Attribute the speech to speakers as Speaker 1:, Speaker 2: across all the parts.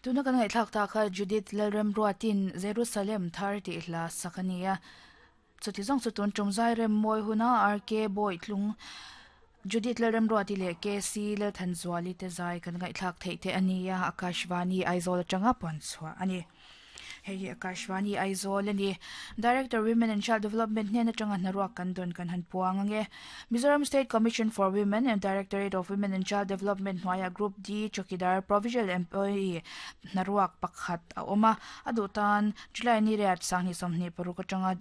Speaker 1: Tuna kan ngaihthlak ta kha Judith Lalremruatin Jerusalem thar tih hla sak a ni a. Chuti zawng chu tun tum zai rem mawi huna RK Bawitlung, Judith Lalremruati leh KC Lalthanzuali te zai kan ngaihthlak theih te a ni a, Akashvani Aizawl atanga puan chhuah a ni. Hei hi Akashvani Aizawl a ni. Director Women and Child Development hnen atanga hnaruak kan dawn kan han puang ang e. Mizoram State Commission for Women and Directorate of Women and Child Development hnuaiah Group D Chowkidar Provisional Employee hnaruak pakhat a awm a, a duh tan July ni riat sanghnih 26 atanga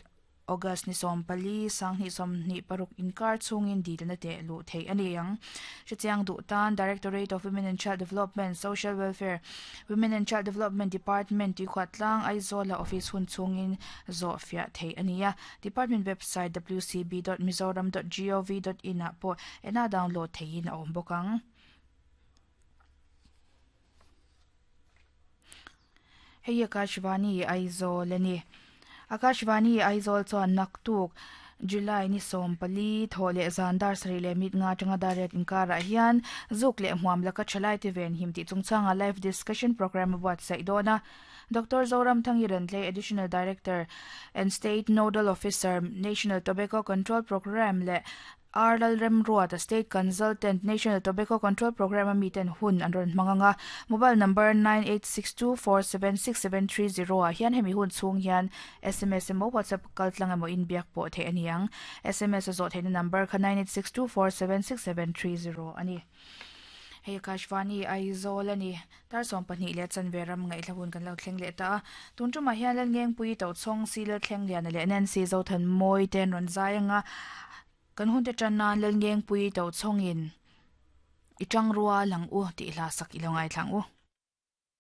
Speaker 1: August ni 14, 2026 inkar chhungin dilna teh luh theih a ni ang. Hrechiang duh tan Directorate of Women and Child Development, Social Welfare, Women and Child Development Department Tuikhuahtlang, Aizawla office hun chhungin zawh fiah theih a ni a. Department website wcb dot mizoram dot gov dot in ah pawh ena download theihin a awm bawk ang. Hei hi Akashvani Aizawl a ni. Akashvani Aizawl chuan naktuk July ni 14 thawh leh zan dar sarih leh mit nga atanga dar riat inkarah hian zuk leh hmuam laka thalaite venhim tih chungchanga live discussion programme a buatsaih dawn a. Doctor Zoramthangi Rentlei Additional Director and State Nodal Officer, National Tobacco Control Programme leh R Lalremruata, State Consultant, National Tobacco Control Programme a miten hun an rawn hmang ang a. Mobile number 9862476730 ah hian hemi hun chhung hian sms emaw WhatsApp kaltlang emaw inbiak pawh theih a ni ang. Sms a zawh theihna number kha 9862476730 a ni. Hei Akashvani Aizawl a ni. Tar 12 leh chanve ram ngaihhla hun kan lo thleng leh ta a. Tun tumah hian Lalngengpui Tochhawng, Si Lalthlengliana leh Nancy Zothanmawi te an rawn zai ang a. Kan hunte tan nan Lalngengpui Tochhawngin I tang rual ang u tih hla sak i lo ngaithla ang u.